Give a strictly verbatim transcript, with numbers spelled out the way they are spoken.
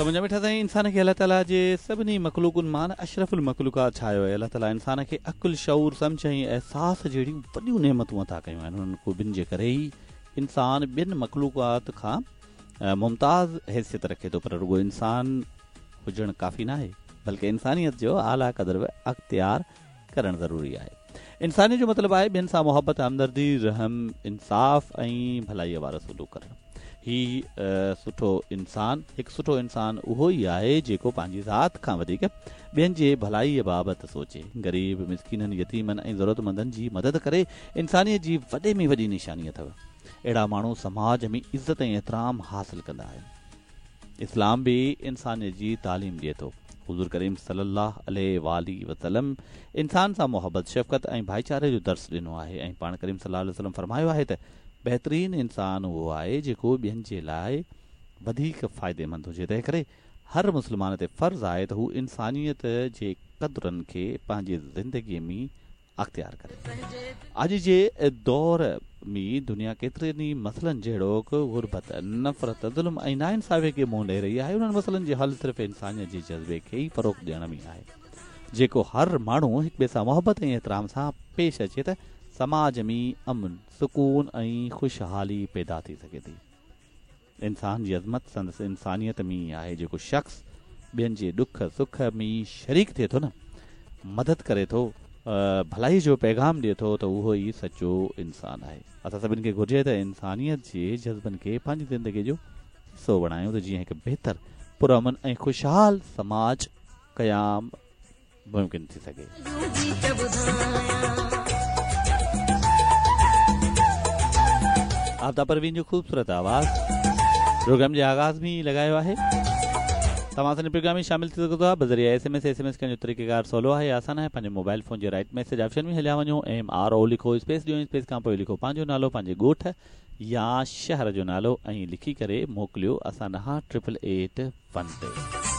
ته منهنجا مٺا سائين، انسان کي الله تعاليٰ جي سڀني مخلوقن مان اشرف المخلوقات ٺاهيو آهي. الله تعاليٰ انسان کي عقل، شعور، سمجهه ۽ احساس جهڙيون وڏيون نعمتون عطا ڪيون آهن. انهن خوبين جي ڪري ئي انسان ٻين مخلوقات کان ممتاز حيثيت رکي ٿو. پر رڳو انسان هجڻ ڪافي نه آهي، بلڪه انسانيت جو اعليٰ قدر به اختيار ڪرڻ ضروري آهي. انسانيت جو مطلب آهي ٻين سان محبت، همدردي، رحم، انصاف ۽ ڀلائيء وارو سلوڪ ڪرڻ. هي سٺو انسان هڪ سٺو انسان اهو ئي آهي جيڪو پنهنجي ذات کان وڌيڪ ٻين جي ڀلائيء بابت سوچي، غريب، مسڪينن، يتيمن ۽ ضرورتمندن جي مدد ڪري. انسانيت جي وڏي ۾ وڏي نشاني اٿو. اهڙا ماڻهو سماج ۾ عزت ۽ احترام حاصل ڪندا آهن. اسلام به انسانيت جي تعليم ڏئي ٿو. حضور ڪريم صلي الله عليه وآله وسلم انسان سان محبت، شفقت ۽ ڀائيچاري جو درس ڏنو آهي ۽ پاڻ ڪريم صلي الله عليه وسلم فرمايو آهي ته بهترين انسان اهو آهي جيڪو ٻين جي لاءِ وڌيڪ فائديمند هجي. تنهن ڪري هر مسلمان تي فرض آهي ته هو انسانيت جي قدرن کي پنهنجي زندگيءَ ۾ اختيار ڪري. اڄ جي دور ۾ دنيا ڪيترن ئي مسئلن جهڙوڪ غربت، نفرت، ظلم ۽ ناانصافي کي منهن ڏئي رهي آهي. انهن مسئلن جي حل صرف انسانيت جي جذبي کي ئي فروغ ڏيڻ ۾ آهي. جيڪو هر ماڻهو هڪ ٻئي سان محبت ۽ احترام سان پيش اچي ته سماج ۾ امن، سڪون ۽ خوشحالي پيدا ٿي سگهي ٿي. انسان جي عظمت سندس انسانيت ۾ ئي آهي. جيڪو شخص ٻين جي ڏک سک ۾ شريڪ ٿئي ٿو نه، مدد ڪري ٿو، ڀلائي جو پيغام ڏئي ٿو ته اهو ئي سچو انسان آهي. اسان سڀني کي گهرجي ته انسانيت جي جذبن کي پنهنجي زندگي جو حصو بڻايون ته جيئن هڪ بهتر، پرامن ۽ خوشحال سماج قيام ممڪن ٿي سگهي. عابده پروين جو خوبصورت آواز پروگرام جي آغاز ۾ ئي لڳايو آهي. توهان اسان جي پروگرام ۾ شامل ٿي سگهو ٿا بذريعي S M S. S M S ڪرڻ جو طريقيڪار سولو آهي، آسان آهي. پنهنجي موبائل فون جي رائيٽ ميسيج آپشن ۾ هليا وڃو، ايم آر او لکو، اسپيس ڏيو، اسپيس کان پوءِ لکو پنهنجو نالو، پنهنجي ڳوٺ يا شهر جو نالو ۽ لکي ڪري موڪليو اسان ڏانهن ٽرپل ايٽ ون تي.